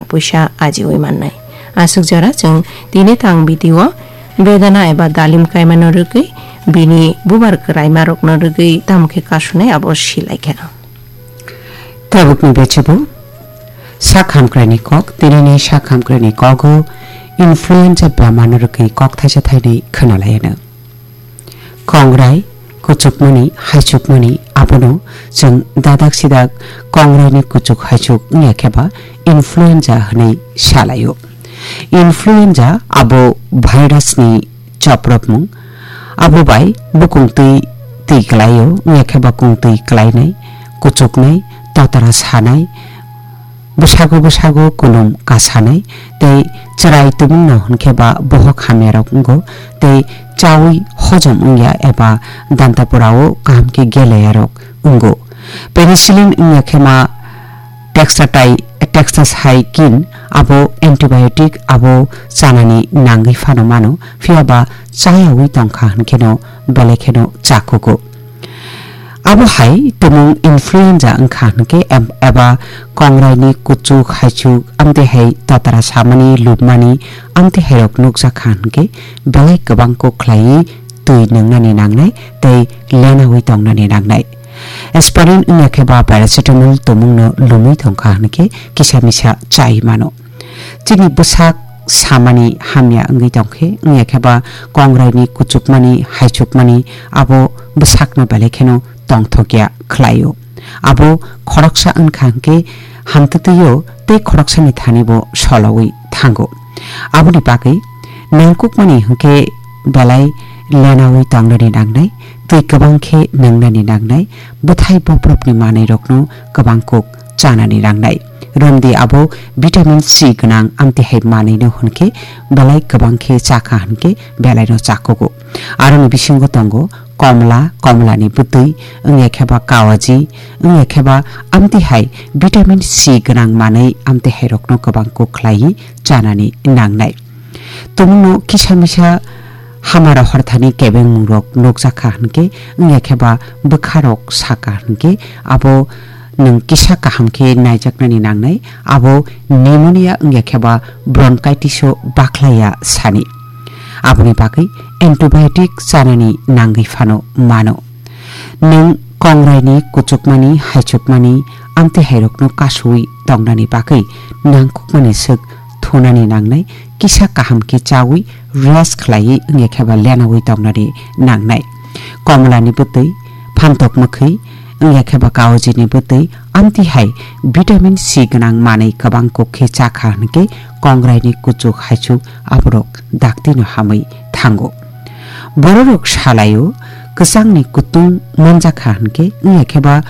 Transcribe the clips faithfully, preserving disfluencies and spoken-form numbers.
puisa ajiwi mannai. Aswk jora chwng tini tang video bedana eba dalim kaimano rwgwi bini bubar kwraimarokno rwgwi tamo khe kasunai abo silaikha. Tabukni bechebo sak hamkraini kok, tinini sak hamkraini kogo influenza bemarno rwgwi kok thaisa thainwi khwnalaiano. Kongrai, kuchukmani, haichukmani, abono chwng dadak sidak kongraini kuchuk haichuk wngya khe ba influenza hwnwi salaio. Influenza abo virusni chopropmung, abo bai bukung twi twi klaio, wngya khe ba kung twi klainai, kuchuknai, totara sanai, bwsago bwsago kunum kasanai tei chwrai tumungno hwnkhe ba bohok hamyarok wngo tei chaui hojom wngya eba dantapurao kaham khe geleyarok wngo. Penicillin wngya khe ma textatai-, tetracycline abo antibiotic abo chanani nangwi phano mano, phiya ba chayaui tongkha hwnkheno belai kheno chakugo. Abo hai tumung influenza wngkha hwnkhe em-, eba kongraini kuchuk haichuk amtwi hai totara samani lubmani amtwi hairok nukjakha hwnkhe belai kwbang kok khlaiwi twi nwngnani nangnai tei lenaui tongnani nangnai. Aspirin wngya khe ba paracetamol tumungno lumwi tongkha hwnkhe kisa misa chai mano. Chini bwsak samani hamya wngwi tongkhe, wngya khe ba kongraini kuchukmani, haichukmani abo bwsakno belai kheno tongthokya khlaio. Abo khoroksa wngkha hwnkhe hamtwtwio tei khoroksani thani bo solowi thango. Aboni bagwi nangkukmani hwnkhe belai lenaui tongnani nangnai, twi kwbang khe nwngnani nangnai, bwthai bobrokni manwirokno kwbang kuk chanani nangnai. Romdi abo vitamin C gwnang amtwi hai manwino hwnkhe belai kwbang khe chakha hwnkhe belaino chakugo. Aroni bisingo tongo komla, komlani bwtwi, wngya khe ba kawaji, wngya khe ba amtwi hai vitamin C gwnang manwi amtwi hairokno kwbang kuk khlaiwi chanani nangnai. Tumungno kisa misa hamaro horthani kebengmungrok nukjakha hwnkhe, wngya khe ba bwkharok sakha hwnkhe, abo nwng kisa kaham khe naijaknani nangnai, abo pneumonia wngya khe ba bronchitis-o bakhlaiya sani. Aboni bagwi antibiotic chanani nangwi phano mano. Nwng kongraini kuchukmani, haichukmani, amtwi hairokno kasuwi tongnani bagwi nangkukmani swk thunani nangnai, kisa kaham khe chawi rest khlaiwi wngya khe ba lenaui tongnani nangnai. Komlani bwtwi, phantok mwkhwi, wngya khe ba kawajini bwtwi, amtwi hai vitamin C gwnang manwi kwbang kuk khe chakha hwnkhe kongraini kuchuk haichuk aborok daktino hamwi thango. Bororok salaio, kwchangni kutung manjakha hwnkhe, wngya khe ba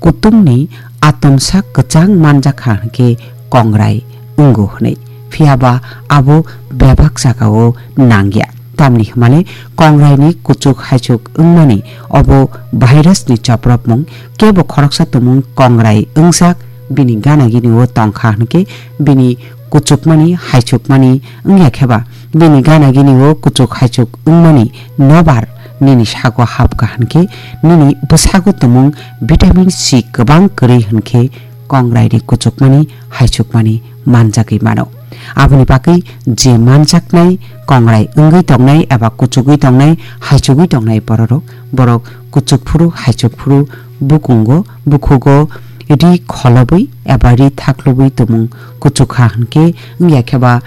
kutungni atomsa kwchang manjakha hwnkhe kongrai wngo hwnwi. Phiya ba abo bebak jagao nangya. Tamni hwnmale kongraini kuchuk haichuk wngmani obo virusni chopropmung, kebo khoroksa tumung kongrai wngjak bini gana gini o tongkha hwnkhe bini kuchukmani, haichukmani wngya khe ba, bini gana gini o kuchuk haichuk wngmani nobar nini sago hapkha hwnkhe, nini bwsago tumung vitamin C kwbang kwrwi hwnkhe, kongrai ni kuchukmani, haichukmani manjagwi mano. Aboni bagwi je manjaknai kongrai wngwi tongnai eba kuchugwi tongnai, haichugwi tongnai bororok, borok kuchuk phuru, haichuk phuru bukungo, bukhugo ri kholobwi eba ri thaklubwi tumung kuchukha hwnkhe, wngya khe ba,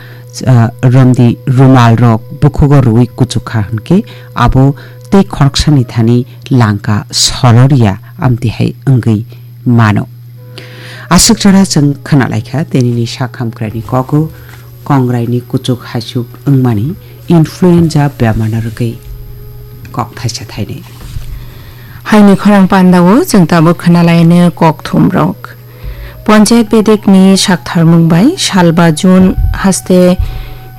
ah, romdi rumal rok bukhugo rwui kuchukha hwnkhe, abo tei khoroksani thani langka soloria amtwi hai wngwi mano. Aswk jora chwng khwnalaikha, tenini sak hamkraini kogo kongraini kuchuk haichuk wngmani influenza bemarno rwgwi kok thaisa thainwi. Haini khorang pandao chwng tabuk khwnalaino kokthumrok. Panchayat bedekni saktharmung bai salba June haste,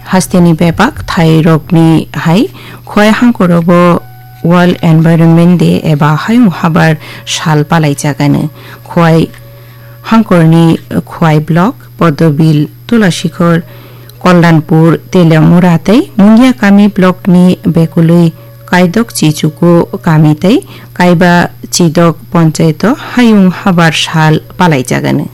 hasteni bebak thairokni hai Khowai hangkorogo World Environment Day eba Hayung Habar Sal palaijagano. Khowai hangkorni Khowai Block, Podobil, Tulasikhor, Koldanpur, Teliamura tei Mungia Kami Blockni bekulwi Kaidok Chichuku Kami tei Kaiba Chidok Panchayato Hayung Habar Sal palaijagano.